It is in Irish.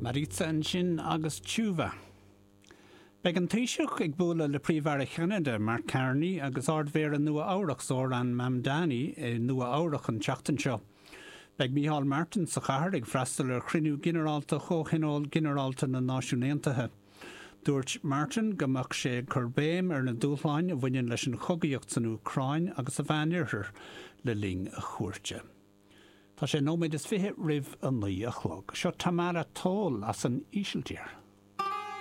Mariza ansin agus Chuva. Beidh an Taoiseach ag bualadh le Príomh-Aire Cheanada, Mark Carney, agus Ard-Mhéara Nua-Eabhrac, Zohran Mamdani, i Nua-Eabhrac an tseachtain seo. Beidh Micheál Martin sa chathair ag freastal ar chruinniú ginearálta Chomhthionól Ginearálta na Náisiún Aontaithe. Dúirt Martin go mbeadh sé ag cur béim ar na dúshláin a bhaineann leis an chogaíocht san Úcráin agus sa Mheánoirthear le linn a chuairte. Tá sé nóiméad is 20 roimh a 9 a chlog. Seo Tamara Tholl as an Ísiltír.